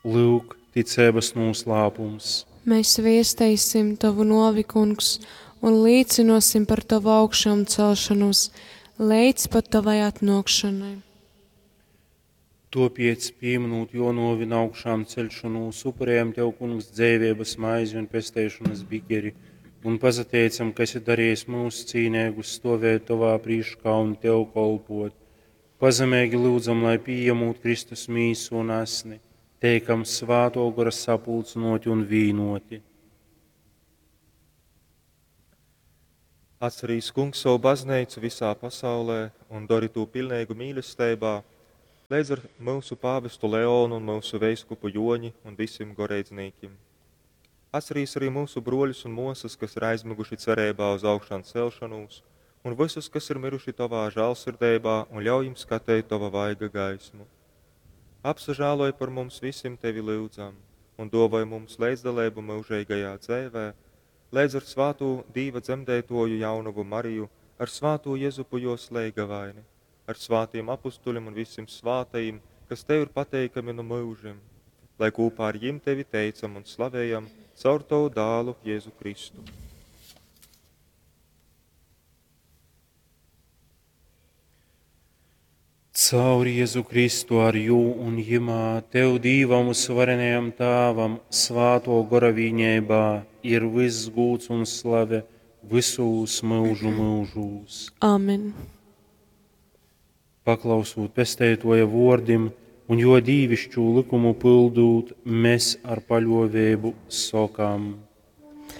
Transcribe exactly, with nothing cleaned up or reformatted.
Lyuk, ticeibas nūslāpums. Mēs viesteisim Tavu nuovi, Kungs, un līcynuosim par Tavu augšāmcelšanos leidz pat Tavai atnuokšanai. Tuopiec, pīminūt juo nuovi un augšāmceļšonūs, upurējam Tev, Kungs, dzeiveibas maizi un pesteišonas bikeri, un pasateicam, ka esi darījis mūs cīneigus stovēt Tovā prīškā un Tev kolpot. Pazemeigi lyudzam, lai pījemūt Kristus mīsu un asni, teikam Svātō Gora sapulcynōti un vīnōti. Atcerīs, Kungs, savu bazneicu visā pasaulē un dori tū pilneigu mīlesteibā, leidz ar myusu pāvestu Leonu un myusu veiskupu Joņi un visim goreidznīkim. Atcerīs arī mūsu bruoļus un muosas, kas ir aizmiguši cereibā uz augšām celšanos, un visus, kas ir miruši Tavā žālsirdeibā, un ļauj jim skateit Tava vaiga gaismu. Apsažāloj par mums visim Tevi lyudzam, un duovoj mums leidzdaleibu myužeigajā dzeivē, leidz ar svātū Dīva dzemdeitoju jaunovu Mariju, ar svātū Jezupu juos leigavaini, ar svātiem apustuļim un visim svātajim, kas Tev ir pateikami nu myužim, lai kopā ar jim Tevi teicam un slavējam caur Tavu dālu Jēzu Kristu. Caur Jēzu Kristu ar jū un jimā, Tev, Dīvam uzvarenajam Tāvam, Svātō Gora vīneibā, ir vyss gūds un slave visūs myužu myužūs. Āmen. Paklausūt Pesteitoja vuordim un juo dīvišķū lykumu pyldūt, mes ar paļuoveibu sokam.